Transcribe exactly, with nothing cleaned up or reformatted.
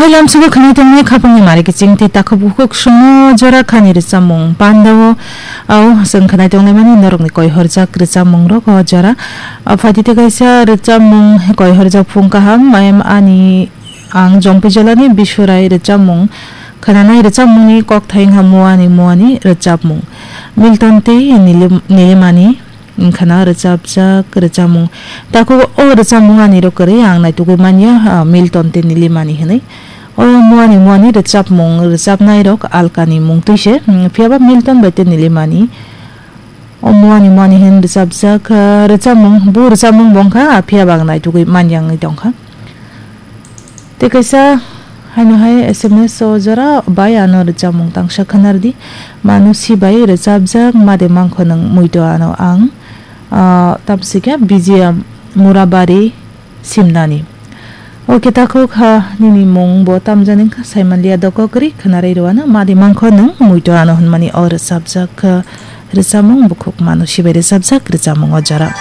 Lamsugo khwnai tongnai khapangni mari kiching tei takhuk bukhuk songno jora khani rwchapmung pandao. Au chwng khwnai tonglaimani norokni koi horjak rwchapmungrok o jora. O phaidi tei kaisa rwchapmung koi horjak phung kaham, mayam ani ang Jompuijolani Bisurai rwchapmung khwnanai rwchapmungni kokthai wngkha Muani Muani rwchapmung. Milton tei Nilim-, Nilimani wngkhana rwchapjak rwchapmung. Takhuk o rwchapmung ani rok kwrwi ang naitugwi manya, ah, Milton tei Nilimani hwnwi. O Muani Muani rwchapmung rwchapnairok alkani mung twi se, hmm, phiyaba Milton bai tei Nilimani. O Muani Muani hwn rwchapjak, ah, rwchapmung, bo rwchapmung bo wngkha, ah, phiyaba ang naitugwi manya wngwi tongkha. Tei kaisa haino hai S M S o jora bai ano rwchapmung tangsa khwnardi. Manusi bai rwchapjak Made Mangkho Nwng Muito Ano Ang, ah, tamsika Vijaya Murabari Simnani. O khe takhuk ha nini mung bo tamjani wngkha saimanliya doko kwrwi khwnarwi rwano Made Mangkho Nwng Muito Ano hwnmani o rwchapjak, ah, rwchapmung bukhuk Manusi bai rwchapjak rwchapmung o jora.